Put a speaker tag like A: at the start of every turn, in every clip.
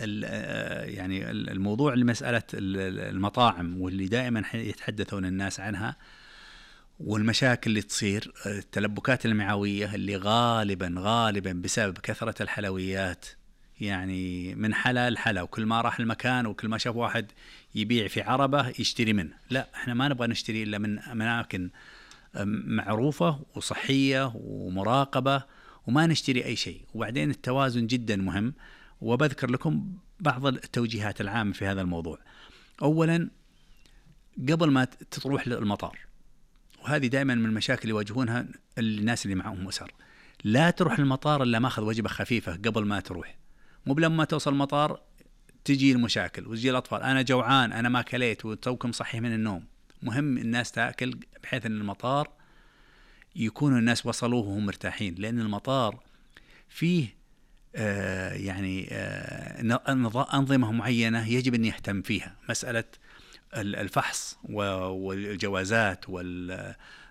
A: يعني الموضوع لمسألة المطاعم واللي دائما يتحدثون الناس عنها، والمشاكل اللي تصير، التلبكات المعوية اللي غالبا بسبب كثرة الحلويات، يعني من حلا لحلا، وكل ما راح المكان وكل ما شاف واحد يبيع في عربة يشتري منه. لا، احنا ما نبغى نشتري إلا من أماكن معروفة وصحية ومراقبة، وما نشتري أي شيء. وبعدين التوازن جدا مهم، وبذكر لكم بعض التوجيهات العامة في هذا الموضوع. أولا، قبل ما تروح للمطار، وهذه دائما من المشاكل اللي يواجهونها الناس اللي معهم أسر، لا تروح المطار إلا ماخذ وجبة خفيفة قبل ما تروح. مو بلما توصل المطار تجي المشاكل وتجي الأطفال، أنا جوعان، أنا ما كليت، وتوكم صحي من النوم. مهم الناس تأكل بحيث أن المطار يكونوا الناس وصلوه وهم مرتاحين، لأن المطار فيه أنظمة معينة يجب أن يهتم فيها، مسألة الفحص والجوازات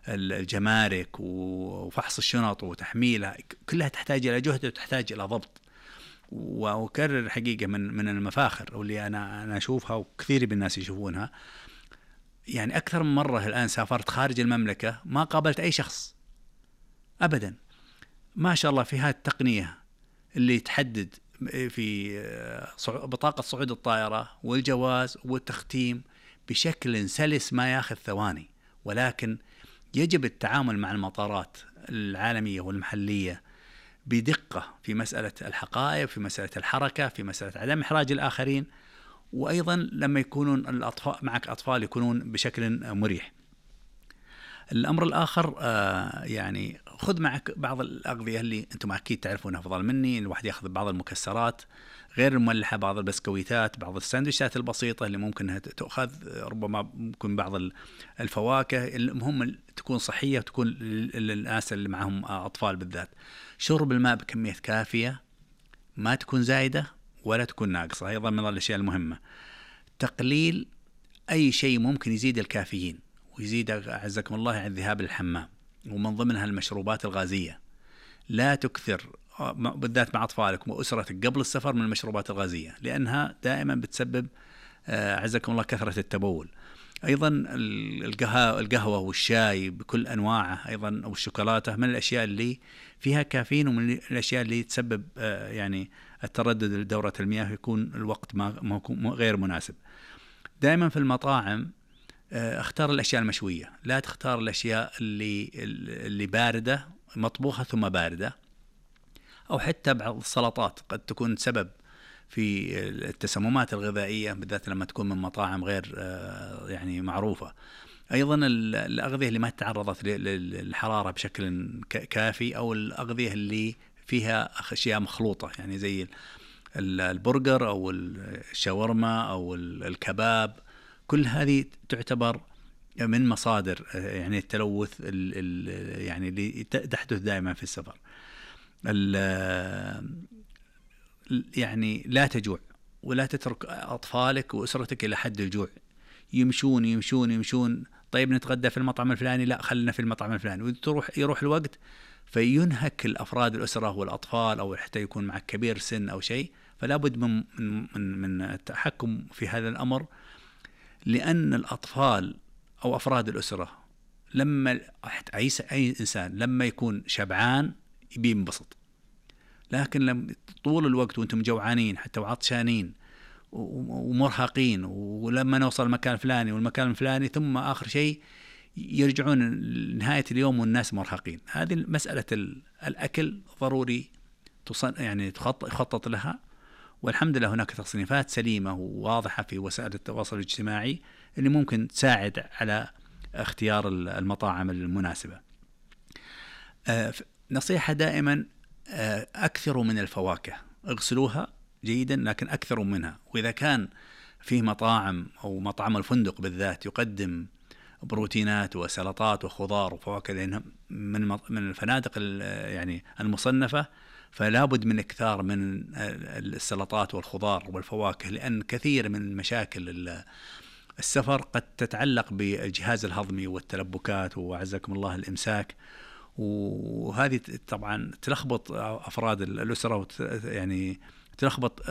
A: والجمارك وفحص الشنط وتحميلها، كلها تحتاج إلى جهد وتحتاج إلى ضبط. وأكرر حقيقة من المفاخر واللي أنا أشوفها وكثير من الناس يشوفونها، يعني أكثر من مرة الآن سافرت خارج المملكة ما قابلت أي شخص أبدا، ما شاء الله، في هذه التقنية اللي تحدد في بطاقة صعود الطائرة والجواز والتختيم بشكل سلس ما ياخذ ثواني. ولكن يجب التعامل مع المطارات العالمية والمحلية بدقة في مسألة الحقائب، في مسألة الحركة، في مسألة عدم إحراج الآخرين، وأيضا لما يكونون الأطفال معك أطفال يكونون بشكل مريح. الأمر الآخر يعني خذ معك بعض الأغذية اللي أنتم أكيد تعرفونها أفضل مني. الواحد يأخذ بعض المكسرات غير المملحة، بعض البسكويتات، بعض الساندويشات البسيطة اللي ممكن تأخذ، ربما ممكن بعض الفواكه. المهم تكون صحية وتكون للناس اللي معهم أطفال بالذات. شرب الماء بكمية كافية، ما تكون زايدة ولا تكون ناقصة، أيضا من الأشياء المهمة. تقليل أي شيء ممكن يزيد الكافيين ويزيد أعزكم الله عن الذهاب للحمام، ومن ضمنها المشروبات الغازية. لا تكثر بالذات مع أطفالك وأسرتك قبل السفر من المشروبات الغازية، لأنها دائما بتسبب أعزكم الله كثرة التبول. أيضا القهوة والشاي بكل أنواعه، أيضا أو الشوكولاتة، من الأشياء اللي فيها كافيين، ومن الأشياء اللي تسبب يعني التردد لدورة المياه، يكون الوقت ما غير مناسب. دائما في المطاعم اختار الأشياء المشوية، لا تختار الأشياء اللي باردة، مطبوخة ثم باردة. أو حتى بعض السلطات قد تكون سبب في التسممات الغذائية، بالذات لما تكون من مطاعم غير يعني معروفة. أيضا الأغذية اللي ما تعرضت للحرارة بشكل كافي، أو الأغذية اللي فيها أشياء مخلوطة، يعني زي البرجر أو الشاورما أو الكباب. كل هذه تعتبر من مصادر يعني التلوث يعني اللي تحدث دائما في السفر. يعني لا تجوع، ولا تترك أطفالك وأسرتك إلى حد الجوع، يمشون. طيب نتغدى في المطعم الفلاني، لا خلنا في المطعم الفلاني، يروح الوقت فينهك الأفراد الأسرة والأطفال، أو حتى يكون معك كبير سن أو شيء. فلا بد من التحكم في هذا الأمر، لأن الأطفال أو أفراد الأسرة لما أي إنسان لما يكون شبعان يبي ينبسط، لكن لما طول الوقت وأنتم جوعانين حتى وعطشانين ومرهقين، ولما نوصل المكان الفلاني والمكان الفلاني، ثم آخر شيء يرجعون نهاية اليوم والناس مرهقين. هذه مسألة الأكل ضروري يعني يخطط لها. والحمد لله هناك تصنيفات سليمة وواضحة في وسائل التواصل الاجتماعي اللي ممكن تساعد على اختيار المطاعم المناسبة. نصيحة دائما أكثروا من الفواكه، اغسلوها جيدا لكن أكثروا منها. وإذا كان فيه مطاعم أو مطعم الفندق بالذات يقدم بروتينات وسلطات وخضار وفواكه، لأنها من الفنادق يعني المصنفة، فلا بد من إكثار من السلطات والخضار والفواكه، لأن كثير من مشاكل السفر قد تتعلق بالجهاز الهضمي والتلبكات وعزكم الله الإمساك، وهذه طبعا تلخبط أفراد الأسرة، يعني تلخبط